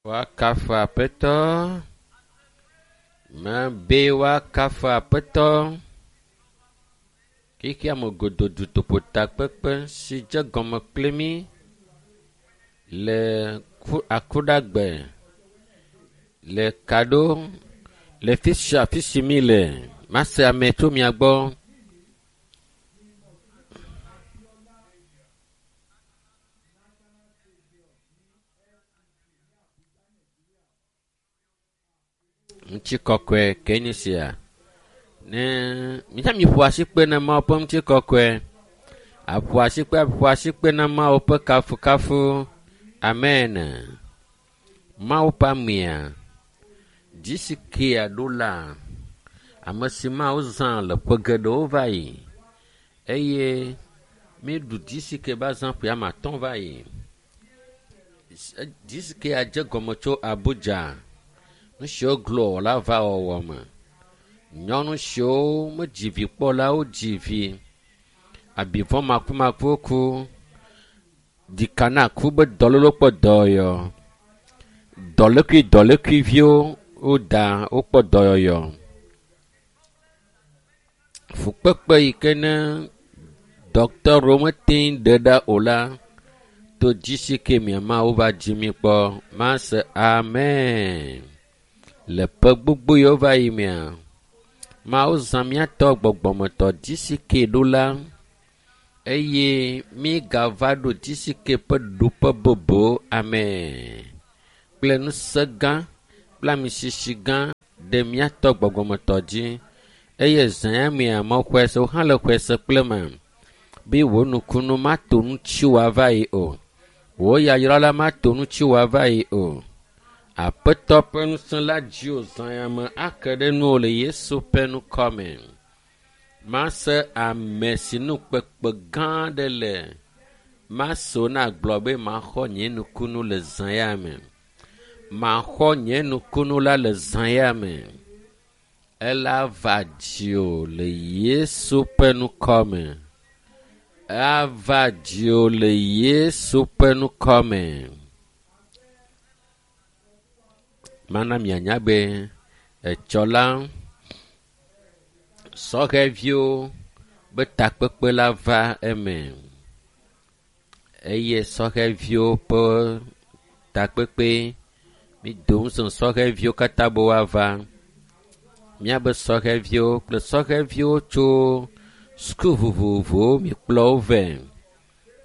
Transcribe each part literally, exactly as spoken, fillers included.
Woakafu Aƒetɔ. Mebe woakafu Aƒetɔ. Xexea me godoo dutoƒotakpekpe si dze gɔme kpli mí le akuɖagbe le kaɖo le fi sia afi si mi le. Mase ame tso mia gbɔ. Ŋutikɔkɔe ke nye sia. Ne mítsã miƒo asikpe na Mawu ƒe ŋutikɔkɔe. Aƒo asikpe aƒo asikpe na Mawu ƒe kafukafu. Amen. Mawu ƒe amea dzi si kea ɖo la ame si Mawu zã le ƒe geɖewo va yi eye míeɖu dzi si ke va zã ƒe ame atɔ̃ va yi. Dzi si kea dze gɔme tso Abuja. Nu siwo glo la va wɔwɔ me. Nyɔnu siwo medzi vi kpɔ la wodzi vi. Abivɔ makumakuwo ku. Ɖika na ku be dɔléle kpɔ dɔyɔyɔ. Dɔlékui dɔlékuiviwo woda wokpɔ dɔyɔyɔ. Fukpekpe yi ke ne dɔkitɔwo mete ŋu ɖe ɖa o la to dzi si ke mia Mawu va dzi mi kpɔ. Mase amen. Le ƒe gbogbo yiwo va yi mea, Mawu zã míatɔ gbɔgbɔmetɔ dzi si ke ɖo la eye mígava ɖo dzi si ke ƒe ɖoƒe bubu amen kple ŋusẽ gã kple amisisi gã ɖe míatɔ gbɔgbɔmetɔ dzi eye zã ya mea mexɔe se wo hã le xɔe se kple me be wò nukunu mato ŋuti wòava yi o. Wò yayra la mato ŋuti wòava yi o. Aƒetɔ ƒe ŋusẽ la dzi wò zã ya me ake ɖe nuwò le Yesu ƒe ŋkɔ me. Mase ame si nu kpekpe gã aɖe le. Mase wo nagblɔ be maxɔ nye nukunu le zã ya me. Maxɔ nye nukunu la le zã ya me. Ela va dziwò le Yesu ƒe ŋkɔ me. Ava dziwò le Yesu ƒe ŋkɔ me. Mana mianya be etsɔ la sɔhɛviwo be takpekpe la va eme eye sɔhɛviwo ƒe takpekpe mido ŋusẽ sɔhɛviwo katã be woava. Míabe sɔhɛviwo kple sɔhɛviwo tso suku vovovowo mikplɔ wo vɛ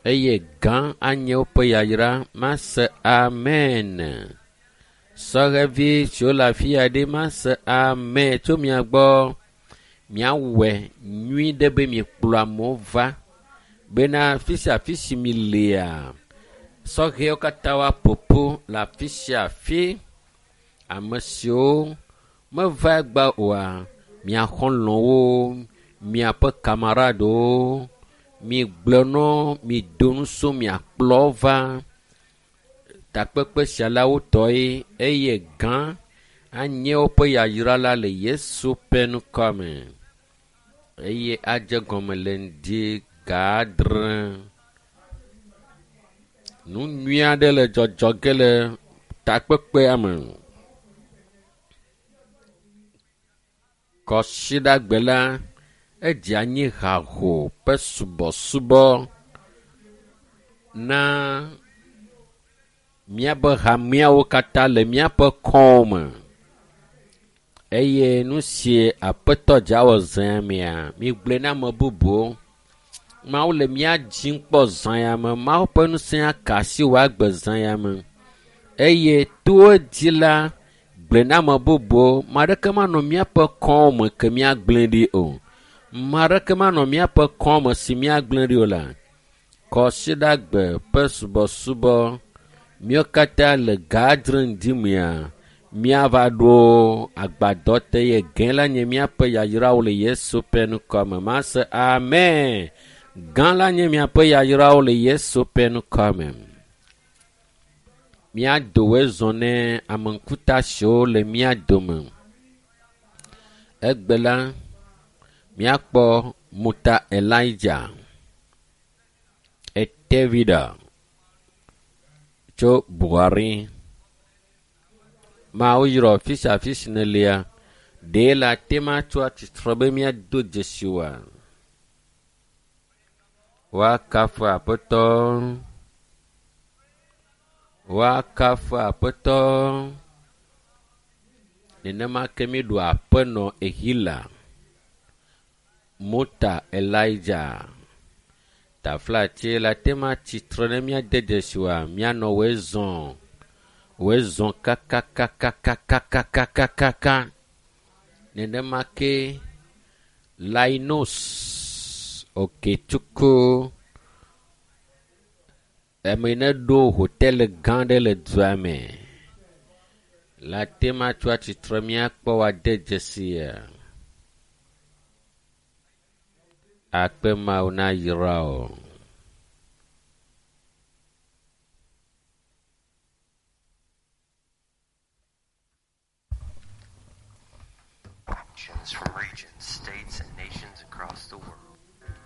eye gã anye woƒe yayra. Mase amen. Sɔhɛvi siwo le afi ya ɖe mase amen tso mia gbɔ. Miawɔe nyui ɖe be miekplɔ amewo va bena afi sia afi si mi lea, sɔhɛwo katã woaƒo ƒu le afi sia afi. Ame siwo meva egbea oa, mia xɔlɔ̃wo, miaƒe kamaradewo, migblɔ na wo, mido ŋusẽ miakplɔ wo va takpekpe sia la wotɔe eye gã anye woƒe yayra la le Yesu ƒe ŋkɔ me eye adze gɔme le ŋdi ga adre. Nu nyui aɖe le dzɔdzɔ ge le takpekpea me. Kɔsiɖagbe la, edze anyi haho ƒe subɔsubɔ na míabe hameawo katã le míaƒe kɔwo me eye nu si Aƒetɔ dza wɔ zã ya mea, migblɔe na ame bubuwo. Mawu le mía dzim kpɔ zã ya me. Mawu ƒe ŋusẽ aka asi wò agbe zã ya me eye to edzi la, gblɔe na ame bubuwo. Ame aɖeke manɔ míaƒe kɔwo me ke míagblẽ ɖi o. Ame aɖeke manɔ míaƒe kɔwo me si míagblẽ ɖi o la. Kɔsiɖagbe ƒe subɔsubɔ míawo katã le ga adre ŋdi mea, míava ɖo agbadɔ te eye gã la nye míaƒe yayrawo le Yesu ƒe ŋkɔ me. Mase amen. Gã la nye miaƒe yayrawo le Yesu ƒe ŋkɔ me. Míado zɔ ne ame ŋkuta siwo le mía dome. Egbe la, míakpɔ Muta Elijah Etevida tso Buhari. Mawu yrɔ fi sia fi si nèlia. Ɖe le ate ma tso atsitre be míado dzesi oa? Woakafu Aƒetɔ. Woakafu Aƒetɔ. Nenema ke míɖu aƒenɔ Ehila, Mota Elijah. Taflatse le ate ma tsitre ne míade dzesi oa, míanɔ woe zɔ̃. Woe zɔ̃ kakakakakakakakaka. Nenema ke Linus Okechukwu ame yi ne ɖo hotel gã aɖe le dua me. Le ate ma tso atsitre míakpɔ woade dzesia. Akpe Mawu na yra wo. From regions, states, and nations across the world.